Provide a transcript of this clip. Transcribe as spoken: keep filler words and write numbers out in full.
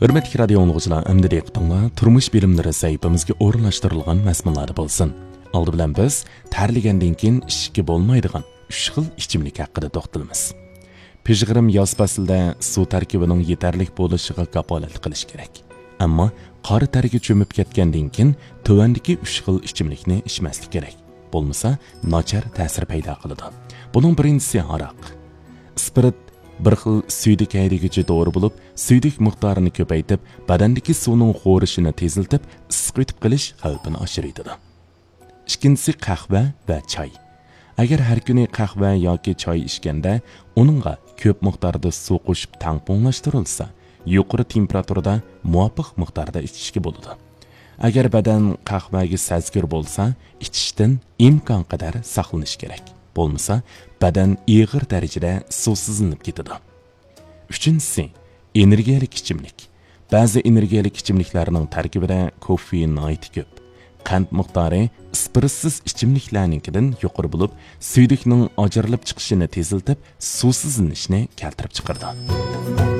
ھۆرمەتلىك رادىيو ئاڭلىغۇچىلار، ئەمدى دىققىتىڭلار تۇرمۇش بىلىملىرى سەھىپىمىزگە ئورۇنلاشتۇرۇلغان مەزمۇنلاردا بولسۇن. ئالدى بىلەن بىز تەرلىگەندىن كېيىن ئىچىشكە بولمايدىغان ئۈچ خىل ئىچىملىك ھەققىدە توختىلىمىز. پىژغىرىم ياز پەسلىدە سۇ تەركىبىنىڭ يېتەرلىك بولۇشىغا كاپالەتلىك قىلىش كېرەك. ئەمما قارا تەرگە چۆمۈپ كەتكەندىن كېيىن تۆۋەندىكى ئۈچ خىل ئىچىملىكنى ئىچمەسلىك كېرەك. بولمىسا ناچار تەسىر پەيدا قىلىدۇ. بۇنىڭ بىرىنچىسى ھاراق. ئىسپىرت بىر خىل سۈيدۈك ھەيدىگۈچى دورا بولۇپ، سۈيدۈك مىقدارىنى كۆپەيتىپ، بەدەندىكى سۇنىڭ خورىشىنى تېزلىتىپ، ئىسسىق ئۆتۈپ قېلىش خەۋپىنى ئاشۇرۇۋېتىدۇ. ئىككىنچىسى قەھۋە ۋە چاي. ئەگەر ھەر كۈنى قەھۋە ياكى چاي ئىچكەندە، ئۇنىڭغا كۆپ مىقداردا سۇ قوشۇپ تەڭپۇڭلاشتۇرۇلسا، يۇقىرى تېمپېراتۇرىدا مۇۋاپىق مىقداردا ئىچىشكە بولىدۇ. ئەگەر بەدەن قەھۋەگە سەزگۈر بولسا، ئىچىشتىن ئىمكانقەدەر ساقلىنىش كېرەك. بولمىسا، بەدەن ئېغىر دەرىجىدە سۇسىزلىنىپ كېتىدۇ. ئۈچىنچىسى، ئېنېرگىيەلىك ئىچىملىك. بەزى ئېنېرگىيەلىك ئىچىملىكلەرنىڭ تەركىبىدە كوفېئىن ناھايىتى كۆپ. قەنت مىقدارى ئىسپىرتسىز ئىچىملىكلەرنىڭكىدىن يۇقىرى بولۇپ، سۈيدۈكنىڭ ئاجرىلىپ چىقىشىنى تېزلىتىپ، سۇسىزلىنىشنى كەلتۈرۈپ چىقىرىدۇ.